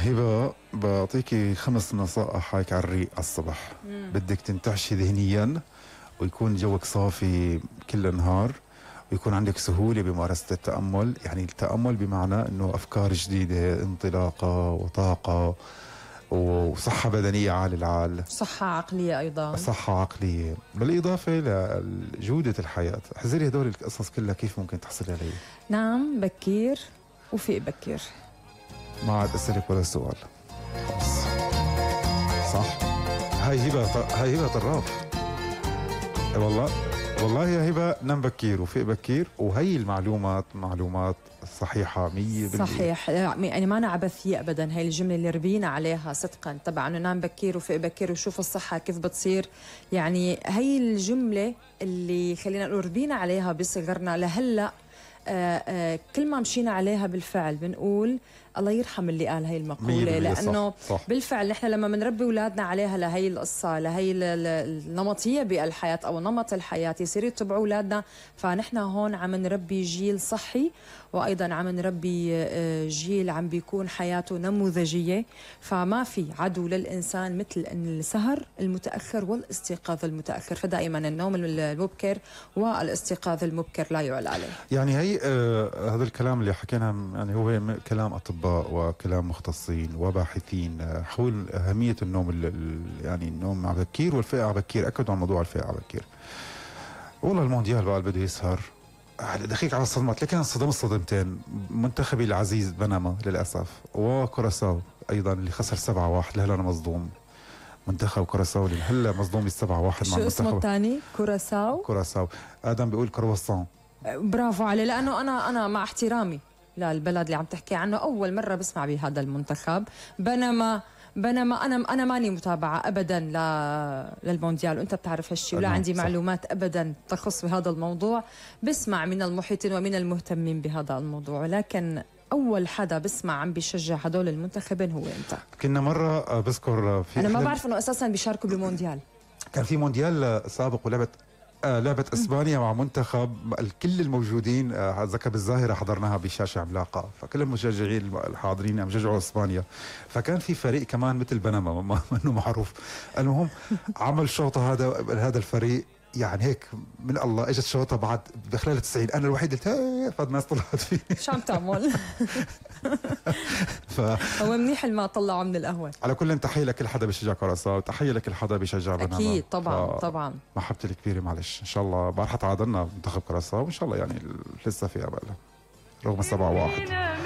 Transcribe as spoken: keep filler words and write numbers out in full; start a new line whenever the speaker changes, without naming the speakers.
هبة بعطيكي خمس نصائح هيك على الريق على الصبح. مم. بدك تنتعشي ذهنيا ويكون جوك صافي كل النهار ويكون عندك سهولة بممارسة التأمل. يعني التأمل بمعنى انه افكار جديدة، انطلاقة وطاقة وصحة بدنية عال العال،
صحة عقلية أيضا،
صحة عقلية، بالإضافة لجودة الحياة. احذري هدول القصص كلها كيف ممكن تحصلي عليه.
نعم بكير وفيق بكير.
ما عاد أسألك ولا سؤال خلص. صح؟ هاي هبة هاي هبة طراف. والله والله يا هبة، نم بكير وفيق بكير، وهي المعلومات معلومات صحيحة مية بالمية.
صحيح، يعني ما أنا عبثية أبدا. هاي الجملة اللي ربينا عليها صدقا تبع إنه نام بكير وفيق بكير وشوف الصحة كيف بتصير. يعني هي الجملة اللي خلينا نقول ربينا عليها بصغرنا لهلا. آه آه كل ما مشينا عليها بالفعل بنقول الله يرحم اللي قال هاي المقولة، لأنه صح صح. بالفعل نحن لما بنربي أولادنا عليها لهي القصة، لهي النمطية بالحياة أو نمط الحياة يصيروا يتبعوا أولادنا، فنحن هون عم نربي جيل صحي، وأيضا عم نربي جيل عم بيكون حياته نموذجية. فما في عدو للإنسان مثل السهر المتأخر والاستيقاظ المتأخر، فدائما النوم المبكر والاستيقاظ المبكر لا يعلى عليه.
يعني هي آه هذا الكلام اللي حكينا يعني هو كلام أطباء وكلام مختصين وباحثين حول أهمية النوم، يعني النوم على بكير والفئة على بكير. أكدوا عن موضوع الفئة على بكير. والله المونديال بقى بده يسهر دقيق على الصدمات، لكن انصدم الصدمتين. منتخبي العزيز بنما للأسف، وكوراساو أيضا اللي خسر سبعة واحد. لهلا أنا مصدوم. منتخب كوراساو اللي هلا مصدوم بالسبعة واحد مع المنتخب.
شو اسمه الثاني؟ كوراساو؟
كوراساو. آدم بيقول كرواسون.
برافو عليه، لأنه أنا أنا مع احترامي للبلد اللي عم تحكي عنه أول مرة بسمع بهذا المنتخب. بينما بينما أنا أنا ماني متابعة أبدا للمونديال، وأنت بتعرف هالشيء، ولا عندي صح. معلومات أبدا تخص بهذا الموضوع. بسمع من المحيطين ومن المهتمين بهذا الموضوع، ولكن أول حدا بسمع عم بيشجع هدول المنتخبين هو أنت.
كنا مرة بذكر في
أنا ما بعرف إنه أساسا بيشاركوا بمونديال.
كان في مونديال سابق ولعبت آه لعبة اسبانيا مع منتخب، كل الموجودين آه ذكر بالظاهرة حضرناها بشاشة عملاقة، فكل المشجعين الحاضرين عم يشجعوا اسبانيا. فكان في فريق كمان مثل بنما ما انه معروف. المهم عمل شوطة هذا هذا الفريق، يعني هيك من الله اجت شوطة بعد بخلال تسعين. انا الوحيد قلت هي فالناس طلعت فيه.
شو عم تعمل؟ ف... هو منيح ما طلعوا من القهوة.
على كل تحية لكل حدا بيشجع كوراساو، تحية لكل حدا بيشجع بنما.
أكيد طبعا ف... طبعا.
محبتي الكبيرة معلش. إن شاء الله بارحة تعادلنا منتخب كوراساو، وإن شاء الله يعني لسه في أمل رغم سبعة واحد.